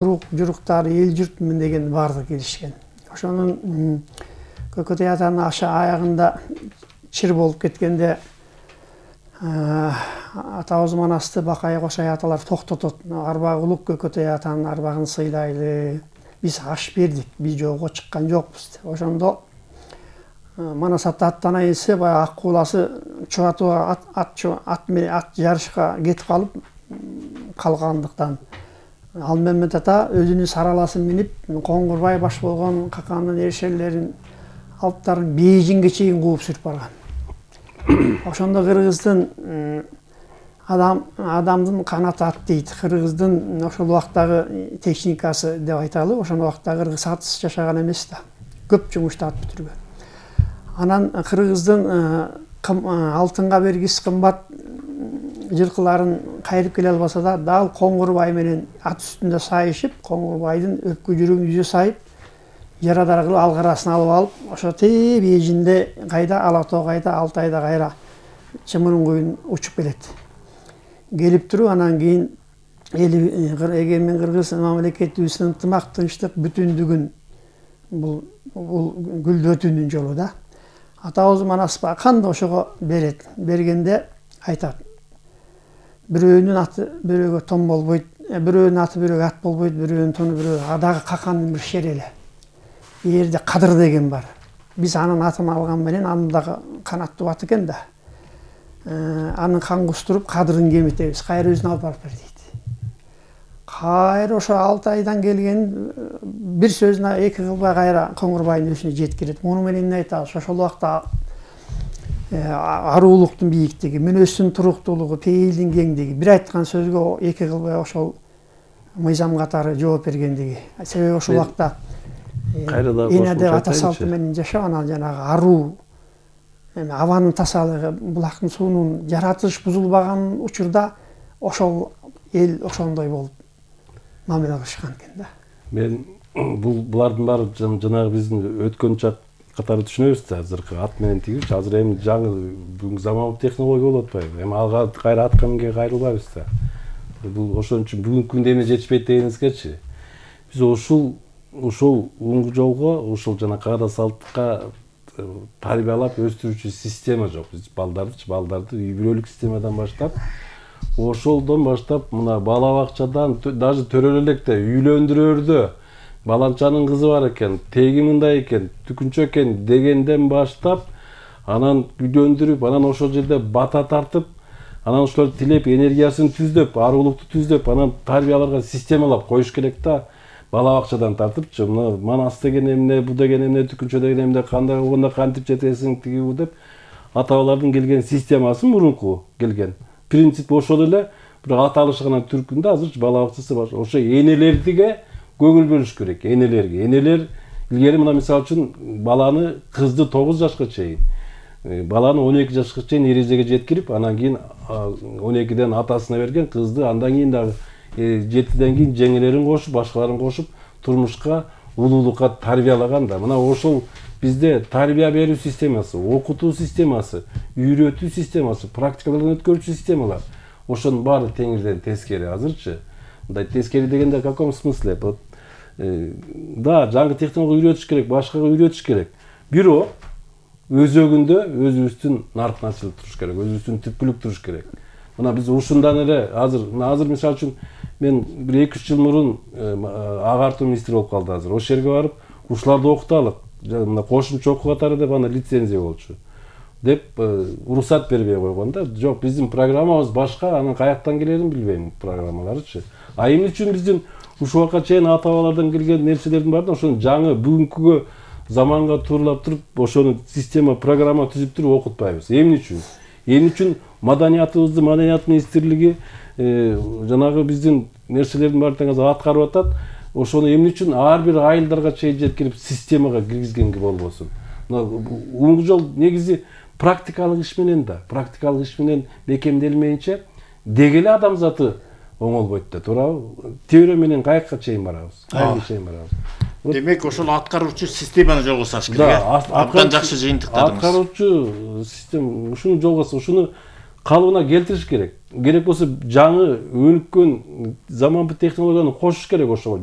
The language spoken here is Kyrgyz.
Журуктары эл журтмун деген баардыгы келишкен. Ошонун Көкөтөй атанын аягында чыр болуп кеткенде атабыз манасты Бакай Кошай аталар токтотот. Арбагы улук Көкөтөй атанын арбагын сыйлайлы. Биз аш бердик, биз жолго чыккан жокпуз деп. Ошондо Манас ата аттанайын десе, баягы ак кууласы чубатууга ат жарышка кетип калгандыктан Ал Мемет ата өзүнүн сараласын минип, Коңгурбай баш болгон какандын эрешелерин алыптарын Бейжиңге чейин кууп сүрүп барган. Ошондо кыргыздын адамдын канаты ат дейт. Кыргыздын ошол убактагы техникасы деп айталы, ошол убакта кыргыз атсыз жашаган эмес да. Көп жумушту ат бүтүргөн. Анан кыргыздын алтынга бергис кымбат жылкыларын кайрып келе албаса да, дал Коңгурбай менен ат үстүндө сайышып, Коңгурбайдын өпкө жүрөгүн жүзө сайып, жарадар кылып алгарасын алып алып, ошо Бейжиңде кайда, Ала Тоо кайда, Алтайда кайра чымырын куюн учуп келет. Келип туруп, анан кийин эгемен кыргыз мамлекетибиздин ынтымак, тынчтык, бүтүндүгүн бул гүлдөтүүнүн жолу да. Атабыз Манас кандай ошого берет. Бергенде айтат: бирөөнүн аты бирөөгө том болбойт, бирөөнүн аты бирөөгө ат болбойт, бирөөнүн тону бирөөгө адагы какандын бир шерели. Жерде кадыр деген бар. Биз анын атын алган менен аны дагы канаттуу ат экен да. Анын кан кустуруп кадырын кемитебиз. Кайра өзүн алып барып бер дейт. Кайра ошо Алтайдан келген бир сөзүнө эки кылбай кайра Коңгурбайдын өзүнө жеткирет. Муну менен эмне айтабыз? Ошол убакта аруулуктун бийиктиги, мүнөздүн туруктуулугу, пейилдин кеңдиги, бир айткан сөзгө эки кылбай ошол мыйзам катары жооп бергендиги. Себеби ошол убакта эне деп ата салты менен жашап, анан жанагы аруу, абанын тазалыгы, булактын суунун жаратылыш бузулбаган учурда ошол эл ошондой болуп мамиле кылышкан экен да. Мен булардын баары жанагы биздин өткөн чак катары түшүнөбүз да. Азыркы ат менен тигүүчү, азыр эми жаңы бүгүнкү заманбап технология болуп атпайбы? Эми алга кайра атка минге кайрылбайбыз да. Бул ошон үчүн бүгүнкү күндө эмне жетишпейт дегениңизгечи, биз ушул уңгу жолго, ушул жана каада салтка тарбиялап өстүрүүчү система жок. Биз балдарды үй бүлөлүк системадан баштап, ошолдон баштап мына бала бакчадан, даже төрөлө электе үйлөндүрөөрдө баланчанын кызы бар экен, теги мындай экен, түкүнчө экен дегенден баштап, анан үйлөндүрүп, анан ошол жерде бата тартып, анан ошолорду тилеп, энергиясын түздөп, аруулукту түздөп, анан тарбияларга системалап коюш керек да. Бала бакчадан тартыпчы, мына Манас деген эмне, бу деген эмне, түкүнчө деген эмне, кандай болгондо кантип жетесиң, тиги бу деп ата-бабалардын келген системасы мурунку келген. Принцип ошол эле, бирок аталышы гана түркүндө азырчы бала бакчасы бар. Ошо энелерге көңүл бөлүш керек, энелерге. Энелер илгери мына мисалы үчүн баланы, кызды 9 жашка чейин, баланы 12 жашка чейин эрежеге жеткирип, анан кийин 12ден атасына берген, кызды андан кийин дагы 7ден кийин жеңелерин кошуп, башкаларын кошуп турмушка, улуулукка тарбиялаган да. Мына ошол бизде тарбия берүү системасы, окутуу системасы, үйрөтүү системасы, практикалардан өткөрүүчү системалар. Ошонун баары теңирден тескери азырчы. Мындай тескери дегенде в каком смысле? Да, жаңы технология үйрөтүш керек, башкага үйрөтүш керек. Бирок өзөгүндө өзүбүздүн наркын ачылып туруш керек, өзүбүздүн түпкүлүк туруш керек. Мына биз ушундан эле азыр мисалы үчүн мен бир 2-3 жыл мурун агартуу министри болуп калды азыр. Ошол жерге барып, ушуларды окуталык. Мына кошумча окуу катары деп аны лицензия болчу. Деп уруксат бербей койгон да. Жок, биздин программабыз башка, анын каяктан келерин билбейм программаларычы. А эмне үчүн биздин ушул убакка чейин ата-бабалардан келген нерселердин баарын ошону жаңы бүгүнкүгө заманга тууралап туруп, ошону система, программа түзүп туруп окутпайбыз. Эмне үчүн? Эмне үчүн Маданият министрлиги жанагы биздин нерселердин баарын тең аткарып атат? Ошону эмне үчүн ар бир айылдарга чейин жеткирип системага киргизгенге болбосун? Уңгу жол негизи практикалык иш менен да, практикалык иш менен бекемделмейинче дегеле адамзаты оңолбойт да, туурабы? Теория менен каяка чейин барабыз? Каяка чейин барабыз? Демек ошол аткаруучу системаны жолго саш керек. Абдан жакшы жыйынтыктадыңыз. Аткаруучу система ушуну жолго, ушуну калыбына келтириш керек. Керек болсо жаңы өнүккөн заманбы технологияны кошуш керек ошого.